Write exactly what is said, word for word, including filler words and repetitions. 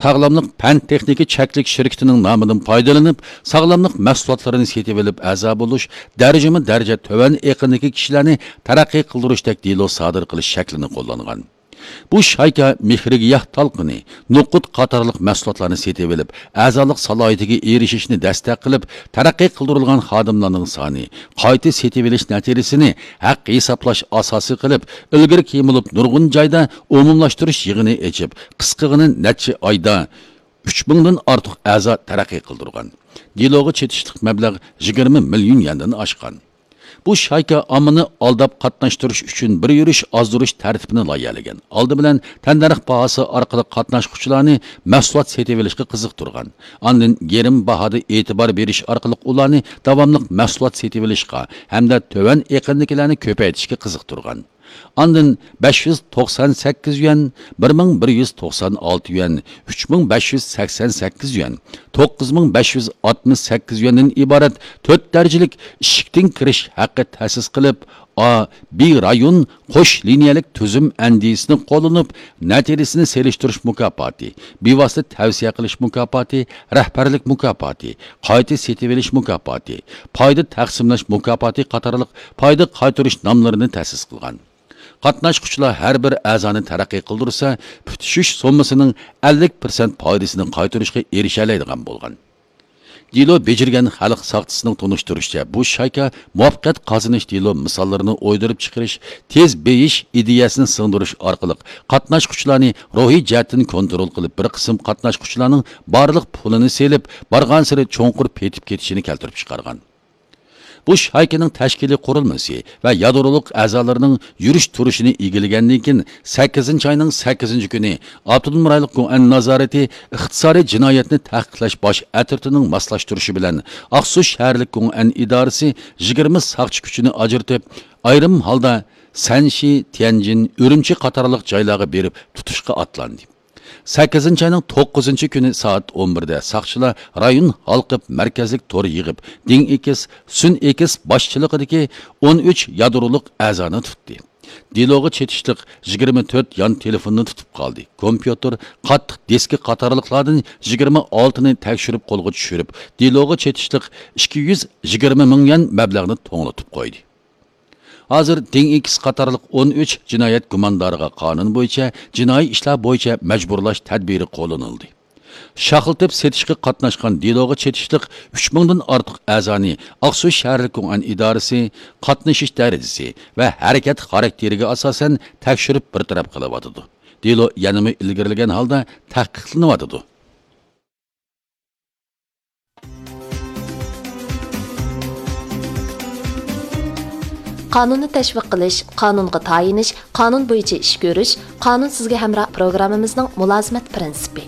ساغلاملىق پەن تېخنىكا چەكلىك شىركىتىنىڭ نامىدىن پايدىلىنىپ، ساغلاملىق مەھسۇلاتلىرىنى سېتىۋېلىپ ئەزا بولۇش، دەرىجىمۇ دەرىجە تۆۋەن ئېقىندىكى كىشىلەرنى تەرەققىي قىلدۇرۇشتەك دېلو سادىر قىلىش شەكلىنى قوللانغان. بۇ شايكا مېھرىگىياھ تالقىنى، نوقۇت قاتارلىق مەھسۇلاتلارنى سېتىۋېلىپ، ئەزالىق سالاھىيىتىگە ئېرىشىشنى دەستەك قىلىپ، تەرەققىي قىلدۇرۇلغان خادىملارنىڭ سانى، قايتا سېتىۋېلىش نەتىجىسىنى ھەق ھېسابلاش ئاساسى قىلىپ، ئىلگىرىكى يېمىلىپ نۇرغۇن جايدا ئومۇملاشتۇرۇش يىغىنى ئېچىپ، قىسقىغىنە نەچچە ئايدا ئۈچ مىڭدىن ئارتۇق ئەزا تەرەققىي قىلدۇرغان. دېلوغا چېتىشلىق مەبلەغ يىگىرمە مىليون يەندىن ئاشقان. بۇ شايكا ئاممىنى ئالداپ قاتناشتۇرۇش ئۈچۈن بىر يۈرۈش ئازدۇرۇش تەرتىپىنى لايىھەلىگەن. ئالدى بىلەن تەننەرخ باھاسى ئارقىلىق قاتناشقۇچىلارنى مەھسۇلات سېتىۋېلىشقا قىزىقتۇرغان. ئاندىن گىرىم باھادا ئېتىبار بېرىش ئارقىلىق ئۇلارنى داۋاملىق مەھسۇلات سېتىۋېلىشقا ھەمدە تۆۋەن ئېقىندىكىلەرنى كۆپەيتىشكە قىزىقتۇرغان. ئاندىن بەش يۈز توقسان سەككىز يۈەن، بىر مىڭ بىر يۈز توقسان ئالتە يۈەن، ئۈچ مىڭ بەش يۈز سەكسەن سەككىز يۈەن، توققۇز مىڭ بەش يۈز ئاتمىش سەككىز يۈەندىن ئىبارەت تۆت دەرىجىلىك ئىشىكتىن كىرىش ھەققى تەسىس قىلىپ، ئا، بى رايون قوش لىنىيەلىك تۈزۈم ئەندىزىسىنى قوللىنىپ، نەتىجىسىنى سېلىشتۇرۇش مۇكاپاتى، بىۋاسىتە تەۋسىيە قىلىش مۇكاپاتى، رەھبەرلىك مۇكاپاتى، قايتا سېتىۋېلىش مۇكاپاتى، پايدا تەقسىملەش مۇكاپاتى قاتارلىق پايدا قايتۇرۇش ناملىرىنى تەسىس قىلغان. قاتناشقۇچىلار ھەر بىر ئەزانى تەرەققىي قىلدۇرسا، پۈتۈشۈش سوممىسىنىڭ ئەللىك پىرسەنت پايدىسىنى قايتۇرۇشقا ئېرىشەلەيدىغان بولغان. دېلو بېجىرگەن خەلق ساقچىسىنىڭ تونۇشتۇرۇشىچە، بۇ شايكا مۇۋەپپەقىيەت قازىنىش دېلو مىساللىرىنى ئويدۇرۇپ چىقىرىش، تېز بېيىش ئىدىيەسىنى سىڭدۈرۈش ئارقىلىق قاتناشقۇچىلارنى روھىي جەھەتتىن كونترول قىلىپ، بىر قىسىم قاتناشقۇچىلارنىڭ بارلىق پۇلىنى سېلىپ، بارغانسېرى چوڭقۇر پېتىپ كېتىشىنى كەلتۈرۈپ چىقارغان. بۇ شايكىنىڭ تەشكىلىي قۇرۇلمىسى ۋە يادرولۇق ئەزالىرىنىڭ يۈرۈش تۇرۇشىنى ئىگىلىگەندىن كېيىن، سەككىزىنچى ئاينىڭ سەككىزىنچى كۈنى ئاپتونوم رايونلۇق گوئەن نازارىتى ئىقتىسادىي جىنايەتنى تەھقىقلەش باش ئەترىتىنىڭ ماسلاشتۇرۇشى بىلەن، ئاقسۇ شەھەرلىك گوئەن ئىدارىسى يىگىرمە ساقچى كۈچىنى ئاجرىتىپ، ئايرىم ھالدا سەنشى، تيەنجىن، ئۈرۈمچى قاتارلىق جايلارغا بېرىپ تۇتۇشقا ئاتلاندى. سەككىزىنچى ئاينىڭ توققۇزىنچى كۈنى سائەت ئون بىردە ساقچىلار رايون ھالقىپ مەركەزلىك تور يىغىپ، دىڭ ئېكىس، سۈن ئېكىس باشچىلىقىدىكى ئون ئۈچ يادرولۇق ئەزانى تۇتتى. دېلوغا چېتىشلىق يىگىرمە تۆت يان تېلېفوننى تۇتۇپ قالدى. كومپيۇتېر، قاتتىق دىسكا قاتارلىقلاردىن يىگىرمە ئالتىنى تەكشۈرۈپ قولغا چۈشۈرۈپ، دېلوغا چېتىشلىق ئىككى يۈز يىگىرمە مىڭ يۈەن مەبلەغنى توڭلىتىپ قويدى. ھازىر دىڭ ئېكىس قاتارلىق ئون ئۈچ جىنايەت گۇماندارىغا قانۇن بويىچە جىنايى ئىشلار بويىچە مەجبۇرلاش تەدبىرى قوللىنىلدى. شاخلىتىپ سېتىشقا قاتناشقان دېلوغا چېتىشلىق ئۈچ مىڭدىن ئارتۇق ئەزانى ئاقسۇ شەھەرلىك گوئەن ئىدارىسى قاتنىشىش دەرىجىسى ۋە ھەرىكەت خاراكتېرىگە ئاساسەن تەكشۈرۈپ بىر تەرەپ قىلىۋاتىدۇ. دېلو يەنىمۇ ئىلگىرىلىگەن ھالدا تەھقىقلىنىۋاتىدۇ. قانۇننى تەشۋىق قىلىش، قانۇنغا تايىنىش، قانۇن بويىچە ئىش كۆرۈش، قانۇن سىزگە ھەمراھ پروگراممىمىزنىڭ مۇلازىمەت پىرىنسىپى.